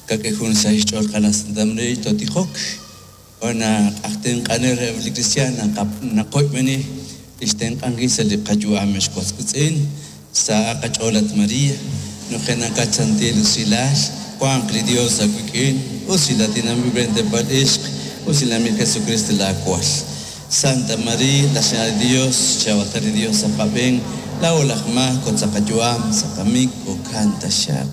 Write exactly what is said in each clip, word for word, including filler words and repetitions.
Kak'e jun sa' xch'ool qana Santa María totijok. Ona q'ajtenq'anel re li cristiana naqoyb'eni ixtenq'ankil sa' li qayu'am xwaswitz'in sa' qach'ool at María nujenaqat santil usilal wanq li Dios awik'in usilatinanb'il brentepal ixq usilamil Jesucristo laakwal. Santa María, la Señora de Dios, chabatari Dios sa qab'een laa'o laj maak sa' qayu'am sa' qamik jo'kan taxaq.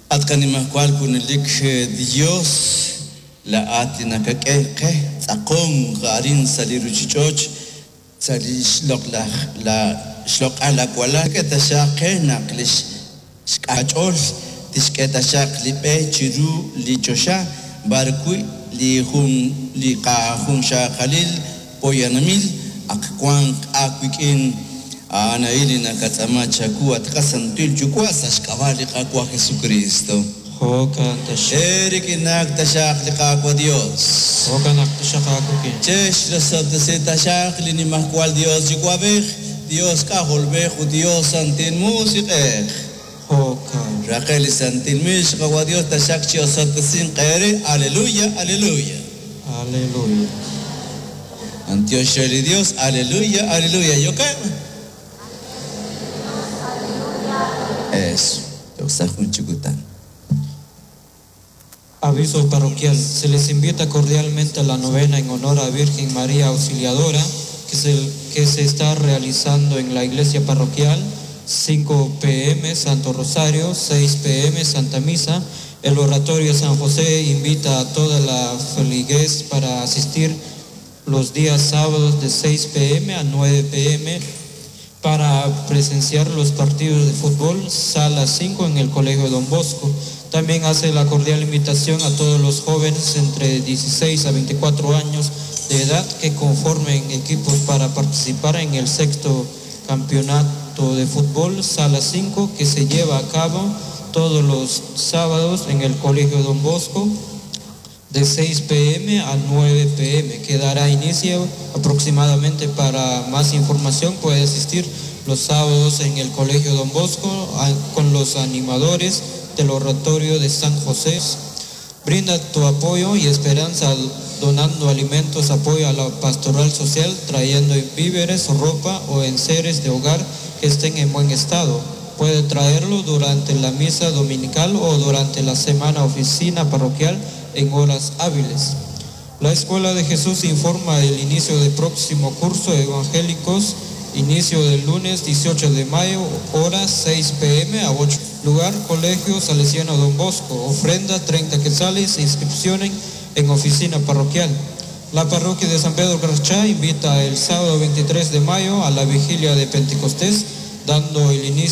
At qanimajwal junelik Dios laa'at li nakak'e qe tz'aqonk arin sa' li ruchich'och sa' li xloq'laj la xloq'al awalal k'e taxaq qe naq li xk'ach'ool tixk'e taxaq li b'e chiru li choxa b'arwi' li jun li qajunxaqalil poyanamil ak wanq aawik'in a'an a'in li nakatz'aama chawu at qasantil Yuwa' sa' xk'ab'a' li Qaawa' Jesucristo. Jo'kan taxaq. Erik'inak taxaq li Qaawa' Dios. Jo'kan naq taxaq aawik'in. Chex rosob'tesi taxaq li nimajwal Dios Yuwa'b'ej, Dios K'ajolb'ej ut Dios Santil Musiq'ej. Jo'kan. Raqel li Santil Mix Qaawa' Dios taxaq chi osob'tesin qeere. Aleluya, aleluya. Aleluya. Antiox li Dios, aleluya, aleluya. ¿Yo qué? Eso. Chikutan. Aviso parroquial. Se les invita cordialmente a la novena en honor a Virgen María Auxiliadora que se, que se está realizando en la iglesia parroquial. cinco pe eme Santo Rosario, seis pe eme Santa Misa. El Oratorio San José invita a toda la feligres para asistir los días sábados de seis pe eme a nueve pe eme para presenciar los partidos de fútbol, sala cinco en el Colegio Don Bosco. También hace la cordial invitación a todos los jóvenes entre dieciséis a veinticuatro años de edad que conformen equipos para participar en el sexto campeonato de fútbol, sala cinco, que se lleva a cabo todos los sábados en el Colegio Don Bosco de seis pe eme a nueve pe eme, que dará inicio aproximadamente. Para más información puede asistir los sábados en el Colegio Don Bosco a, con los animadores del Oratorio de San José. Brinda tu apoyo y esperanza donando alimentos, apoyo a la pastoral social, trayendo víveres, ropa o enseres de hogar que estén en buen estado. Puede traerlo durante la misa dominical o durante la semana oficina parroquial en horas hábiles. La Escuela de Jesús informa el inicio del próximo curso de evangélicos, inicio del lunes dieciocho de mayo, hora seis pe eme a ocho. Lugar, Colegio Salesiano Don Bosco. Ofrenda treinta quetzales, inscripciones en oficina parroquial. La parroquia de San Pedro Carchá invita el sábado veintitrés de mayo a la vigilia de Pentecostés, dando el inicio